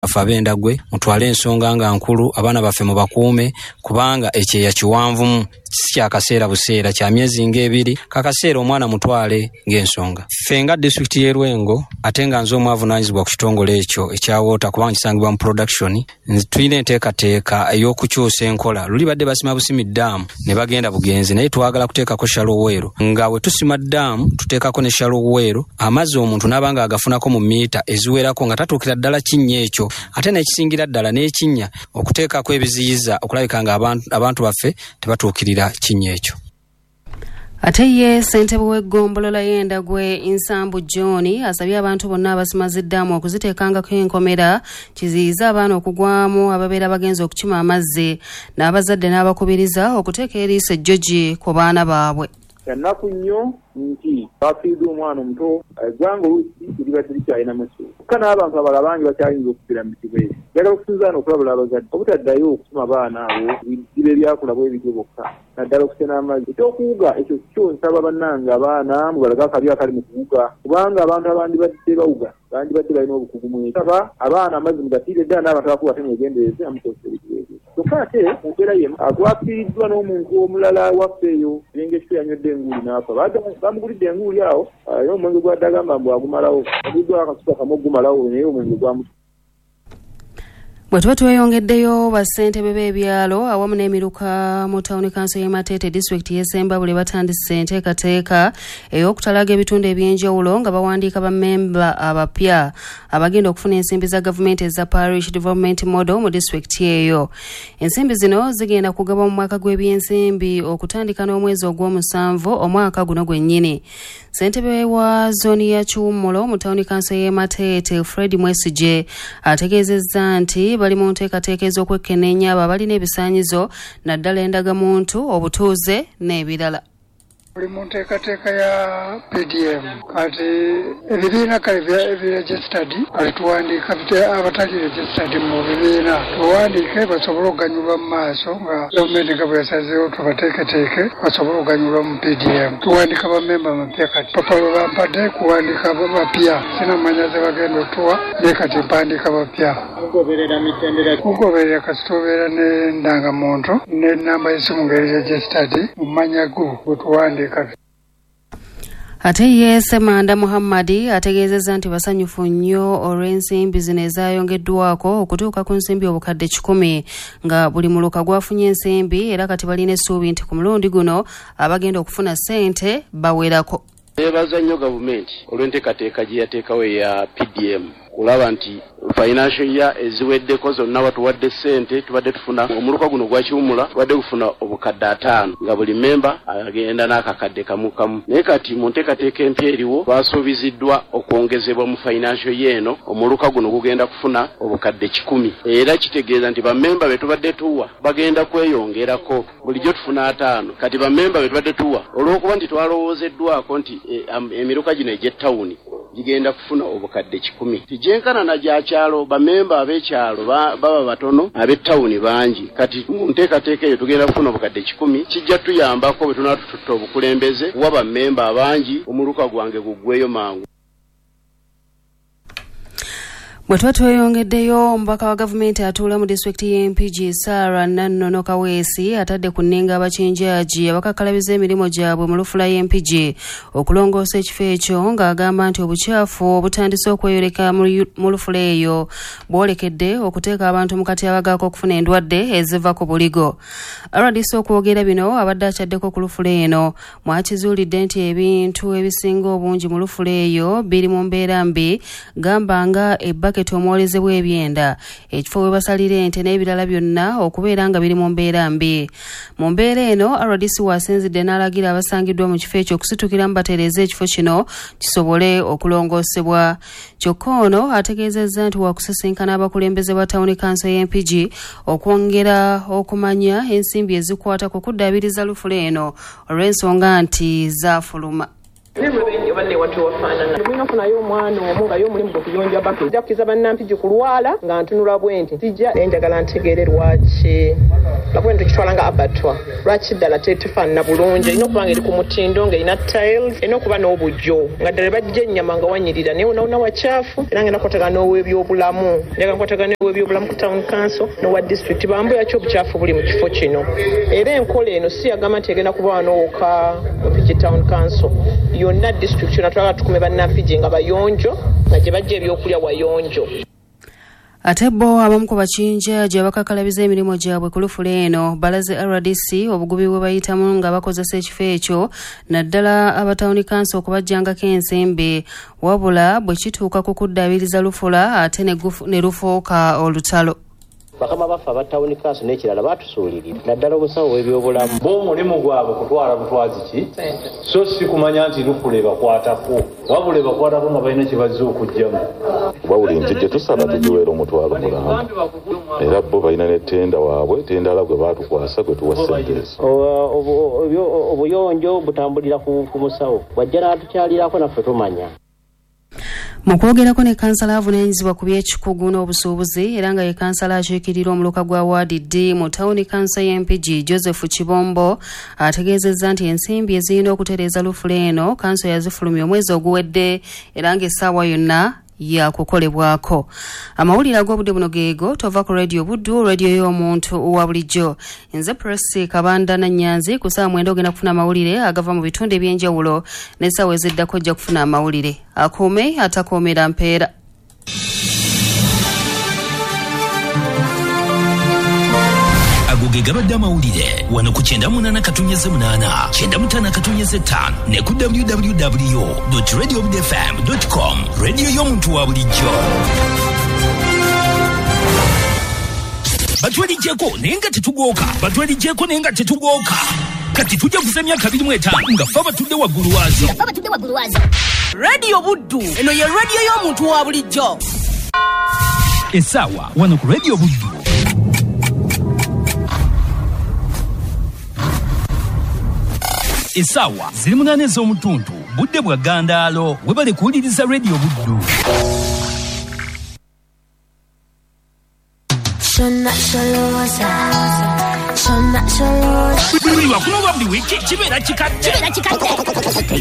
Baffe ab'Endagwe, mutwale ensonga nga nkulu, abaana baffe mubakuume, kubanga ekyeya kiwanvumu, si kyakaseera buseera, kya myezi ng'ebiri. Kakaseera omwana mutwale ng'ensonga. Ffe nga disitulikiti y'e Lwengo, ate nga nze omu avunaanyizibwa ku kitongole ekyo ekya water, kubanga kisangibwa mu production, tulina enteekateeka ey'okukyusa enkola. Luli badde basima busimi ddaamu ne bagenda bugenzi, naye twagala kuteekako shallow well. Nga we tusima ddaamu tuteekako ne shallow well, amazzi omuntu n'aba nga agafunako mu miita eziwerako nga tatuukira ddala kinnya ekyo, ate n'ekisingira ddala n'ekinnya okuteekako ebiziyiza okulabika nga abantu baffe tebatuukirira kinnya ekyo. Ate ye ssentebe w'eggombolola y'Endagwe Nsambu John asabye abantu bonna abasima ziddaamu okuziteekangako enkomera kiziyize abaana okugwamu ababeera bagenze okukima amazzi, n'abazadde n'abakubiriza okuteeka eriiso ejjogi ku baana baabwe. Kya nnaku nnyo nti twafiiriddwa omwana omuto. Eggwanga oluusi libadde likyalinamu essuubi kyokka n'abantu abalala bangi bakyayinza okufiira mu bizibu ebyo. Njagala okusinza wano okulabula abazadde obutaddayo kutuma baana abo ku biziba ebyakula bwe bityo bokka naddala okusena amazzi. Eky'okuwuga ekyo kyo nsaba bannange abaana mubalage akabi akali mu kuwuga kubanga abantu abandibadde bawuga bandibadde balina obukugu mu ekyo. Nsaba abaana amazzi mugatiire ddala n'abantu abakulu ate mwegendereze nga mukozesa ebizibu ebyo. Kyokka ate mu mbeera y'emu twafiiriddwa n'omuntu omulala ewaffe eyo Erenga ekifo yanywedde enguuli n'afa. Baamugulidde enguuli awo era omwenge gw'abadde agamba mbu agumalawo. Yaguliddwako akacupa kamu okugumalawo naye omwenge gwamutuuka. Bwe tuba tweyongeddeyo, bassentebe b'ebyalo awamu n'emiruka mu tawuni kanso y'e Mateete disitulikiti y'e Ssembabule batandise enteekateeka ey'okutalaga ebitundu eby'enjawulo nga bawandiika bammemba abapya abagenda okufuna ensimbi za gavumenti eza Parish Development Model mu disitulikiti eyo. Ensimbi zino zigenda kugabwa mu mwaka gw'ebyensimbi okutandika n'omwezi ogw'omusanvu omwaka guno gwennyini. Ssentebe wa zooni ya Kiwummulo mu tawuni kanso y'e Mateete, Fred Mwesigye ategeezezza nti bali mu nteekateeka ez'okwekkenneenya abo abalina ebisaanyizo naddala endagamuntu, obutuuze n'ebirala. Tuli mu nteekateeka ya PDM kati ebibiina kale ebi registered kati tuwandiika abatali registered mu bibiina tubawandiike basobole okuganyulwa mu maaso nga gavumenti nga bwe yasazeewo tubateeketeeke basobole okuganyulwa mu PDM. Tuwandiika bammemba bapya kati papa lwe bampadde kuwandiika bapya sinamanya ze bagenda otuwa naye kati mpandiika bapya. Mugoberera mitendera ki? Mugoberera kasita obeera n'endangamuntu n'ennamba y'essimu ng'eri registered mu mannya go gwe tuwandiika. Ate ye Ssemanda Muhammad ategeezezza nti basanyufu nnyo olw'ensimbi zino ezaayongeddwako okutuuka ku nsimbi 100,000 nga buli muluka gwafunye ensimbi, era kati balina essuubi nti ku mulundi guno abagenda okufuna ssente bawerako. Neebaza nnyo gavumenti olw'enteekateeka gye yateekawo eya PDM kulaba nti financial year eziweddeko zonna batuwadde ssente. Tubadde tufuna omuluka guno gwa Kiwumula tubadde gufuna 5,000 nga buli memba agenda n'akakadde kamu kamu, naye kati mu nteekateeka empya eriwo twasuubiziddwa okwongezebwa mu financial year eno omuluka guno gugenda kufuna 100,000, era kitegeeza nti bammemba be tubadde tuwa bagenda kweyongerako. Bulijjo tufuna 50, kati bammemba be tubadde tuwa olw'okuba nti twalowoozeddwako nti emiruka gino egy'ettawuni gigenda kufuna 100,000, tigyenkana na gya kyalo. Bamemba ab'ekyalo baba batono, ab'ettawuni bangi. Kati mu nteekateeka eyo tugenda kufuna 100,000, kijja tuyambako bwe tunaba tututta obukulembeze kuwa bammemba abangi, omuluka gwange guggweyo mangu. Bwe tuba tweyongeddeyo, omubaka wa gavumenti atuula mu disitulikiti y'e Mpigi Sarah Nannono Kaweesi atadde ku nninga abakinjaaji abakakkalabiza emirimu gyabwe mu lufula y'e Mpigi okulongoosa ekifo ekyo, ng'agamba nti obukyafu obutandise okweyoleka mu lufula eyo bwolekedde okuteeka abantu mu katyabaga ak'okufuna endwadde eziva ku buligo. RDC okwogera bino abadde akyaddeko ku lufula eno mwakizuulidde nti ebintu ebisinga obungi mu lufula eyo biri mu mbeera mbi, gamba nga ebbaketi omwolezebwa ebyenda, ekifo we basalira ente n'ebirala byonna okubeera nga biri mu mbeera mbi. Mu mbeera eno RDC wasinzidde n'alagira abasangiddwa mu kifo ekyo okusitukiramu batereeze ekifo kino kisobole okulongoosebwa. Kyokka ono ategeezezza nti wakusisinkana abakulembeze ba tawuni kanso y'e Mpigi okwongera okumanya ensimbi ezikwata ku kuddaabiriza lufula eno olw'ensonga nti zaafuluma. Mulina okufunayo omwana omu nga ye omulimu gwe kuyonja baka. Nja kukiza bannampigi kulwala nga ntunula bwe nti sijja naye njagala ntegeere lwaki lwakuba eno tukitwala nga abatwa lwaki ddala tetufaanana bulungi. Erina okuba nga eri ku mutindo, ng'erina tiles, erina okuba n'obujjo nga ddala bajja ennyama nga wanyirira naye wonawona wakyafu. Era ngenda kukwatagana n'ow'ebyobulamu, njagala nkwatagana n'ow'ebyobulamu ku town council n'owa district bambuya ki obukyafu buli mu kifo kino. Era enkola eno si yagamba nti egenda kuba wano wokka mu Mpigi town council yonna district yonna twagala tukume bannampigi nga bayonjo nga gye bajja ebyokulya wayonjo. Ate bo abamu ku bakinjaji abakakalabiza emirimu gyabwe ku lufula eno balaze RDC obugubi bwe bayitamu nga bakozesa ekifo ekyo naddala abatawuni kanso okubajjangako ensimbi, wabula bwe kituuka ku kuddaabiriza lufula ate ne lufuuka olutalo. Bakama baffe aba tawuni kanso n'ekirala batusuulirira naddala omusawo w'ebyobulamu. Bo omulimu gwabwe kutwala butwazi ki so si kumanya nti lufula ebakwatako, wabula ebakwatako nga balina kye bazze okuggyamu. Kuba buli nti gye tusaba tugiweera omutwalo mulamba, era bo balina ne tenda waabwe tendala gwe baatukwasa gwe tuwa ssente ezo. Obuyonjo butambulira ku musawo, bw'ajja n'atukyalirako naffe tumanya. Mu kwogerako ne kansala avunaanyizibwa ku by'ekikugu n'obusuubuzi era nga ye kansala akiikirira omuluka gwa waadi D mu tawuni kanso y'Empigi Joseph Kibombo ategeezezza nti ensimbi ezirina okutereeza lufula eno kanso yazifulumya omwezi oguwedde era ng'essaawa yonna yakukolebwako. Amawulire ag'obudde buno geego tova ku Radio Buddu, radio y'omuntu wa bulijjo. Nze Presi Kabanda Nannyanzi ku ssaawa 9 ogenda kufuna amawulire agava mu bitundu eby'enjawulo n'essaawa eziddako ojja kufuna amawulire. Akuume atakuumira mpeera. Ago ge gabadde amawulire wano ku 98.8, 95.5 ne ku www.radiobudfm.com. Radio y'omuntu wa bulijjo. Batwelijjeko naye nga tetugooka, batwelijjeko naye nga tetugooka. Kati tujja kuza emyaka 25 nga ffe abatudde waggulu waazo. Radio Buddu eno ye radio y'omuntu wa bulijjo. Essaawa wano ku Radio Buddu. Essaawa ziri 8 ez'omutuntu, budde bwa ggandaalo. Webale kuwuliriza Radio Buddu. Buli lwakuno lwa buli wiiki kibeera kikadde.